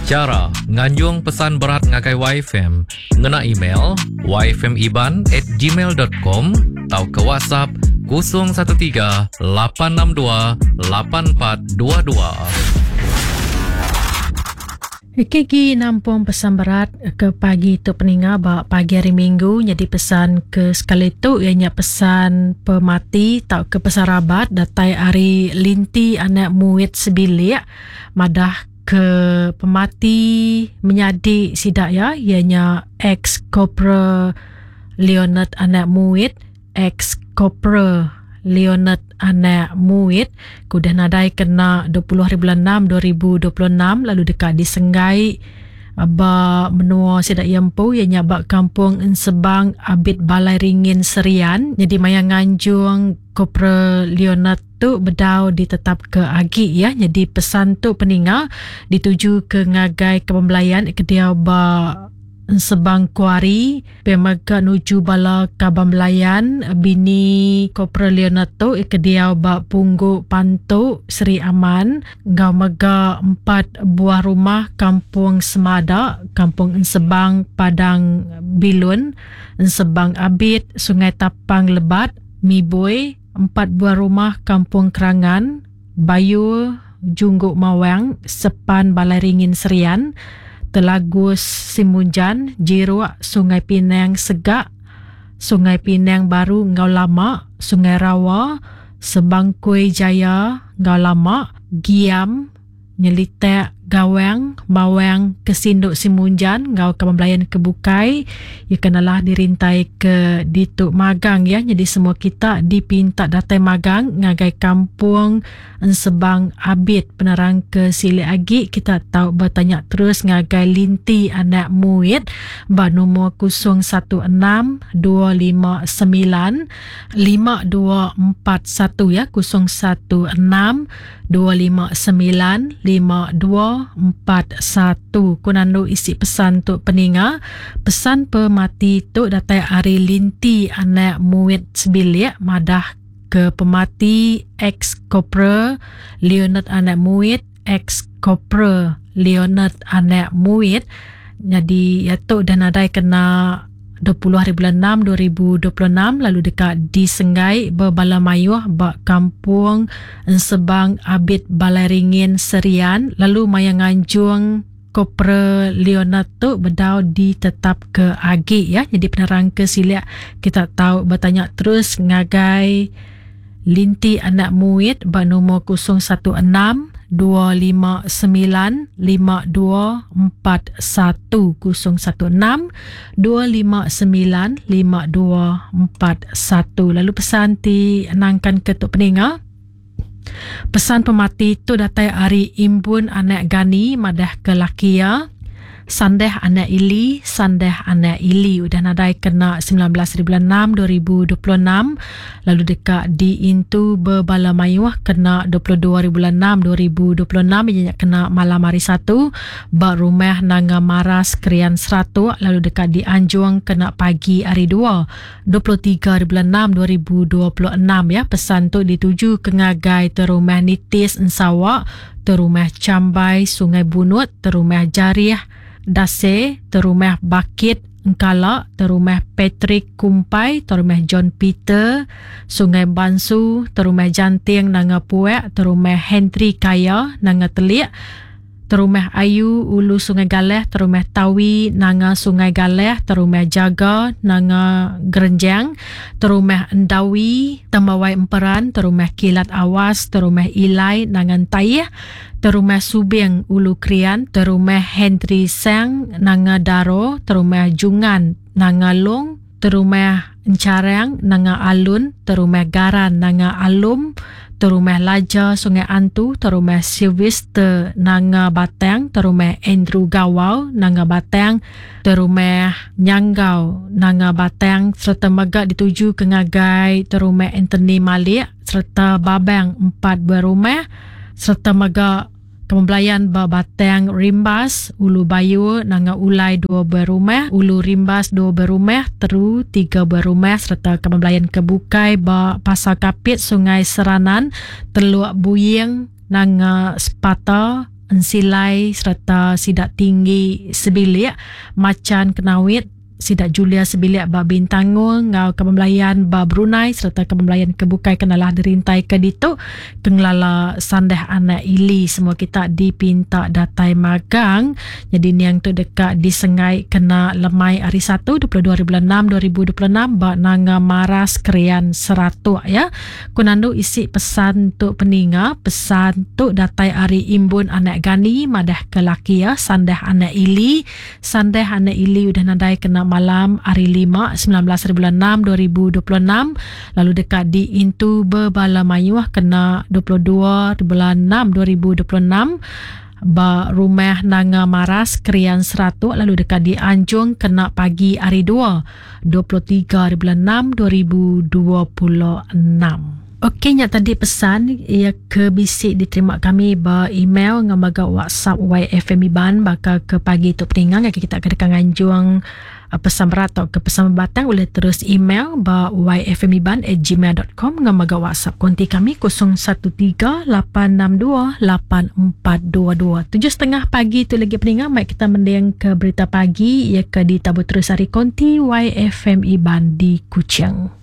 Chara nganjung pesan berat ngagai YFM ngena email yfmiban at gmail dot com tauka WhatsApp 013 862 8422. KG nampung pesan berat ke pagi tu peninga ba pagi hari minggu nyadi pesan ke sekali tu iya nya pesan pemati tauka pesan rabat datai ari Linti anak Muit sebilik madah ke pemati menyadi sida iya iya nya ex Corporal Leonard anak Muit ex Corporal Leonard anak Muit ke udah nadai kena 20 hari bulan 6 2026 lalu deka disenggai ba menua sida iya empu iya nya ba Kampung Ensebang Abit Balai Ringin Serian nyadi maya nganjung Corporal Leonard tu bedau ditetapka agi iya nyadi pesan tu peninga ditujuka ngagai kaban belayan ke diau ba Ensebang Kuari pia mega nuju bala kaban belayan bini Corporal Leonard tu ke diau ba Punggu Pantu Sri Aman enggau mega empat buah rumah Kampung Semada, Kampung Ensebang Padang Bilun, Ensebang Abit, Sungai Tapang Lebat, Mibui, empat buah rumah Kampung Kerangan, Bayur, Junggok Mawang, Sepan Balai Ringin Serian, Telagus Simunjan, Jiruk, Sungai Pinang Segak, Sungai Pinang Baru enggau Lama, Sungai Rawa, Sebangkoi Jaya enggau Lama, Giam, Nyelitak, Gawang, Mawang, Kesindu Simunjan enggau kaban belayan ke bukai iya ke nelah dirintai ke ditu magang iya nyadi semua kita dipinta datai magang ngagai Kampung Ensebang Abit penerang ke silik agi kita tau betanya terus ngagai Linti anak Muit ba numur 016 259 5241 ya 016 259 5241 ku nandu isi pesan tu peninga. Pesan pemati tu datai ari Linti anak Muit sebilik madah ke pemati ex Corporal Leonard anak Muit ex Corporal Leonard anak Muit nyadi iya tu udah nadai kena 20 hari bulan 6 2026 lalu deka disenggai bebala mayuh ba Kampung Ensebang Abit Balai Ringin Serian lalu maya nganjung Corporal Leonard tu bedau ditetapka agi ya. Nyadi penerang ke silik kita tau betanya terus ngagai Linti anak Muit ba numur 016 259 5241 016 259 5241 lalu pesan ti nangkan ke tu peninga pesan pemati tu datai ari Imbun anak Gani madah ke laki iya Sandeh anak Ili, Sandeh anak Ili udah nadai kena 19 hari bulan 6 2026 lalu deka diintu bebala mayuh kena 22 hari bulan 6 2026 iya nya kena malam hari Satu ba Rumah Nanga Maras Krian Seratok lalu deka dianjung kena pagi hari Dua 23 hari bulan 6 2026 ya. Pesan tu dituju ke ngagai Terumah Nitis Ensawa Terumah Chambai Sungai Bunut, Terumah Jarih Dase, Terumah Bakit Engkala, Terumah Patrick Kumpai, Terumah John Peter Sungai Bansu, Terumah Janting Nanga Puak, Terumah Henry Kaya Nanga Telik, Terumah Ayu Ulu Sungai Galeh, Terumah Tawi Nanga Sungai Galeh, Terumah Jaga Nanga Gerenjang, Terumah Endawi Tembawai Emperan, Terumah Kilat Awas, Terumah Ilai Nanga Entaih, Terumah Subing Ulu Krian, Terumah Henry Sang Nanga Daro, Terumah Jungan Nanga Long, Terumah Encharang Nanga Alun, Terumah Garan Nanga Alum, Terumah Laja Sungai Antu, Terumah Sylvester Nanga Batang, Terumah Andrew Gawau Nanga Batang, Terumah Nyanggau Nanga Batang sereta mega dituju ke ngagai Terumah Anthony Malik sereta Babang empat buah rumah sereta mega Kemebelayan ba Batang Rimbas, Ulu Bayur, Nanga Ulai dua buah rumah, Ulu Rimbas dua buah rumah, Teru tiga buah rumah sereta kemebelayan ke bukai ba Pasar Kapit, Sungai Seranan, Teluk Buying, Nanga Sepata. Ensilai sereta sida Tinggi sebilik, Machan Kenawit, sida Julia sebilik ba Bintangor enggau Kaban Belayan ba Brunei sereta Kaban Belayan ke bukai ke nalah dirintaika ditu ke ngelala Sandah Anak Ili semua kita dipinta datai magang. Nyadi niang tu deka disengai kena lemai hari Satu 22 hari bulan 6 2026 ba Nanga Maras Krian Seratok ya. Ku nandu isi pesan tu peninga, pesan tu datai ari Imbun anak Gani madah ke laki iya Sandah anak Ili. Sandah anak Ili udah nadai kena malam hari Lima 19 hari bulan 6 2026 lalu deka diintu bebala mayuh kena 22 hari bulan 6 2026 ba Rumah Nanga Maras Krian Seratok lalu deka dianjung kena pagi hari Dua 23 hari bulan 6 2026. Okey nya tadi pesan iya ke bisi diterima kami ba email enggau mega WhatsApp YFM Iban baka ke pagi tu peninga ngagai kita ke deka nganjung uh, pesan berat atau ke pesan batang boleh terus email ba yfmiban@gmail.com enggau mega WhatsApp konti kami 013 862 8422. 7.30 pagi tu lagi peninga mai kita mending ke berita pagi ia ke ditabur terus ari konti YFM Iban di Kuching.